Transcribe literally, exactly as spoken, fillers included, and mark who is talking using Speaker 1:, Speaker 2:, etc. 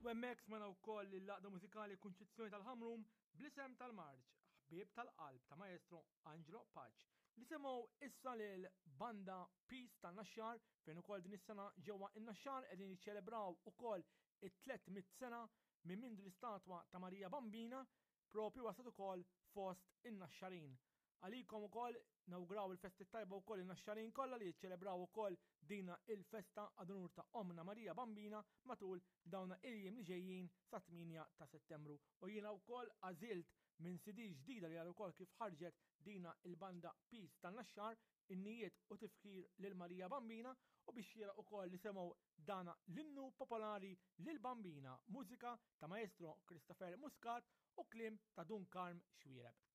Speaker 1: U hemmhekk smajna wkoll l-Għaqda Mużikali Kunċizzjoni tal-Ħamrun bl-isem tal-marċ Ħbieb tal-Qalb ta' Maestro Angelo Pace. Nisimgħu issa lil Banda Peace tan-Naxxar, fejn ukoll din is-sena ġewwa in-Naxxar qegħdin jiċċelebraw ukoll it-tliet mitt sena minn mindu l-istatwa ta' Marija Bambina propju waslet ukoll fost in-Naxxarin. Għalikom ukoll nawguraw il-festi tajba wkoll in-Naxxarin kollha li jiċċelebraw ukoll dina il-festa ad unur ta' Omna Marija Bambina matul dawna il-jiem li ġejjin sa tmienja ta' Settembru. U jiena wkoll għażilt minn C D ġdida li għal ukoll kif ħarġet dina il-banda Peace tan-Naxxar, innijiet u tifkir lil Marija Bambina, u biex jiena ukoll li semgħu dana l-innu popolari lil Bambina, mużika ta' Maestro Christopher Muscat u kliem ta' Dun Karm Xuereb.